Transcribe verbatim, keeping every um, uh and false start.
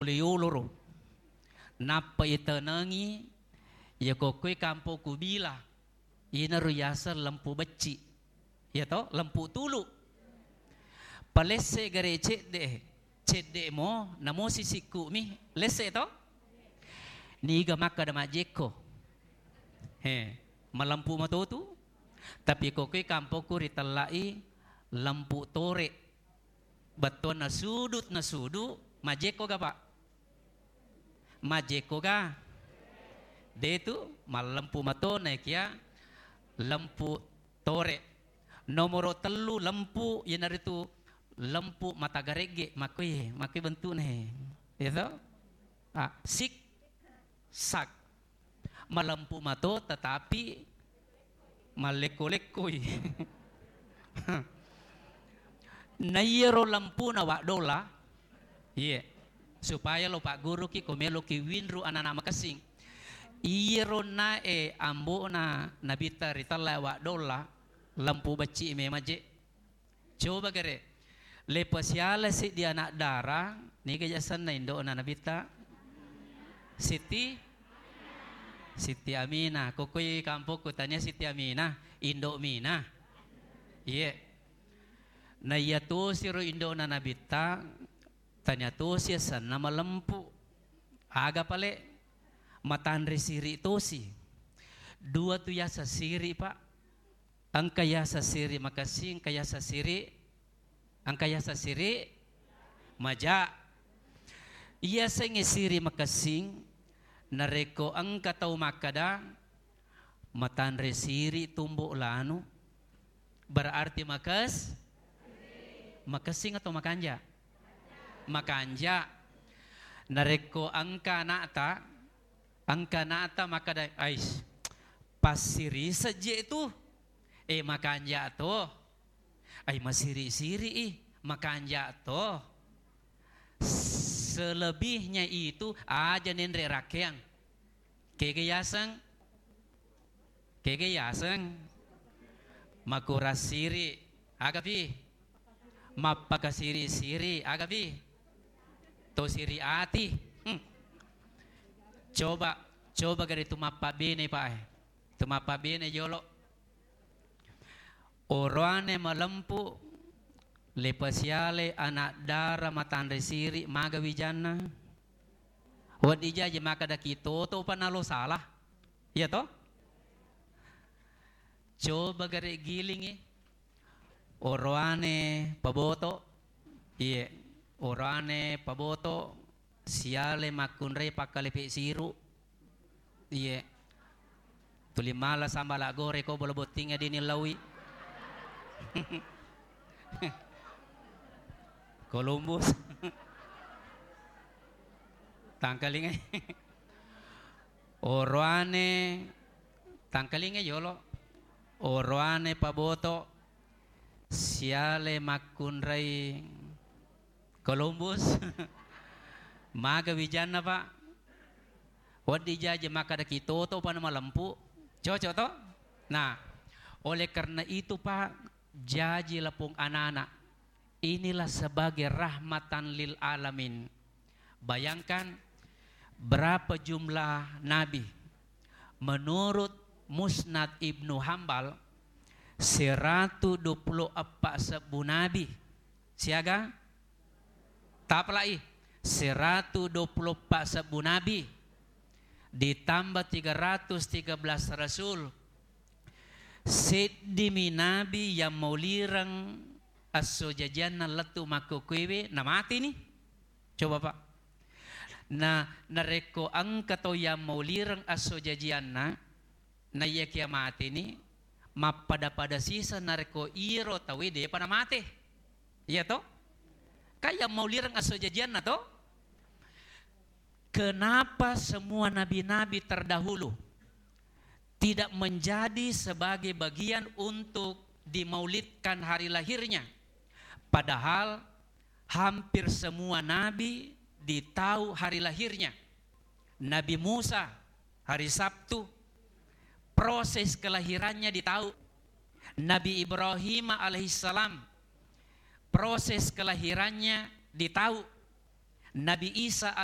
pole yoloro. Nappa itenengi, iya kokkoi kampokku Bila, inaro yaseng lempu becci. Iya to, lempu tulu. Palesse gare cedde, cedde mo, namo sisikku mi, lesse to? Niga makkada majjekko. He, malempu matotu. Tapi kokkoi kampokku ritellai lempu tore. Bettuanna sudut na sudu, majjekko ga, Pak? Majjekko ga? Detu, mallempu mato naekia lempu tore. Nomoro tellu lempu, iyanaritu lempu mata garegge, makkoi, makkoi bentukna he. Iya to? Ah, sik, sak. Malempu mato, tetapi mallekko-lekkoi. Na iyaro lempuna waddola, iye, supaya lo pagguruki ko meloki winru anak-anak makessing. Iyaro nae ambo'na Nabitta ritella waddola, lempu becci memang je. Coba gare, le pasiala seddi anak dara, niga jasenna indo'na Nabitta? Siti, Siti Aminah. Kokkoi kampokku tania Siti Aminah, indo Minah. Iye. Na iya tosiro indo'na Nabitta, tania tosi asenna malempu. Aga pale? Matanre siri tosi. Dua tu yaseng siri, Pak. Engka yaseng siri makessing, engka yaseng siri, engka yaseng siri maja. Iyasengnge siri makessing, narekko engka tau makkada, matanre siri tumbo lanu, berarti makes-, makessing atau makanja? Makanja. Narekko engka anakta, engka anakta makkada, "Ais, passiri sejje tu, eh, makanja to." Ai, masiri-siri i, makanja to. Selebihnya itu aja nenre rakkeang. Kega yaseng? Kega yaseng? Makurang siri, aga pi? Mappakasiri-siri, aga pi? To siri ati. Hmm. Coba, coba gare tu mappabene, Pak, eh. Tu mappabene jolo. Oroane malempu, le pasiale anak dara matanre siri, maga wijanna? Wedding jaji makkadaki toto pa nalo salah. Iya to? Coba gare gilingi. Oroane paboto. Iye, oroane paboto, siale makkunrai pakkalepe siru. Iye. Tuli mala sambala gore ko bola bottingnge dini laui. Columbus. Tangkalingai. Oroane, tangkalingai yolo. Oroane paboto, siale makkunrai Columbus. Maga wijanna, Pak? Wedding jaji makkadaki toto pa namalempu. Cocok to? Nah, oleh karena itu, Pak, jaji lapong anak-anak. Inilah sebagai rahmatan lil alamin. Bayangkan berapa jumlah nabi. Menurut Musnad Ibnu Hambal, seratu dua puluh eppa sebbu nabi. Siaga? Tapalai, seratu dua puluh eppa sebbu nabi, ditambah tiga ratus tiga belas rasul. Seddimi nabi yang maulireng esso jajianna lettu makkokkoewe, namateni. Coba, Pak. Nah, narekko engka tau yang maulireng esso jajianna, naiyakia mateni, mappada-pada siseng narekko iyaro tauwe depa namate. Iya to? Kan yang maulireng esso jajianna to? Kenapa semua nabi-nabi terdahulu tidak menjadi sebagai bagian untuk dimaulidkan hari lahirnya? Padahal hampir semua nabi ditau hari lahirnya. Nabi Musa hari Sabtu, proses kelahirannya ditau. Nabi Ibrahim alaihissalam, proses kelahirannya ditau. Nabi Isa